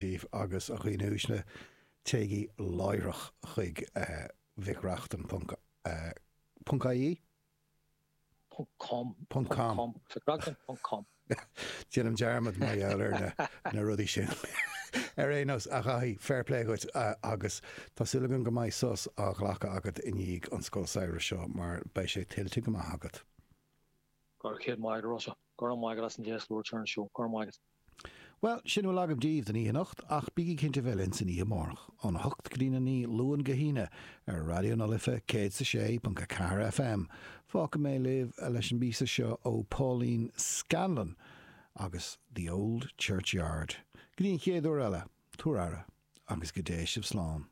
Daoibh agus a dhaoine uaisle, téigí láithreach chuig Mhic Reachtain ponc ponc ie? Ponc com. Ponc com. MhicReachtain ponc com. Déanaim dearmad mar gheall ar na na rudaí sin. Ar aon nós, a Dhaithí, fair play dhuit agus tá súil agam go mbeidh sos á ghlacadh agat i ndiaidh an Scoil Samhraidh seo mar beidh sé tuillte go maith agat. Go raibh céad maith agat, a Rossa. Go raibh maith agat as an deis labhairt ar an seó. Go raibh maith agat. Bhuel, sin a bhfuil agam daoibh don oíche anocht, ach bígí cinnte bheith linn san oíche amárach, óna hocht go dtína naoi, Luan go hAoine, ar Raidió na Life 106.4 FM. Fágfaidh mé libh leis an bpíosa seo ó Pauline Scanlon agus The Old Churchyard. Go dtí an chéad uair eile, tabhair aire, agus go dté sibh slán.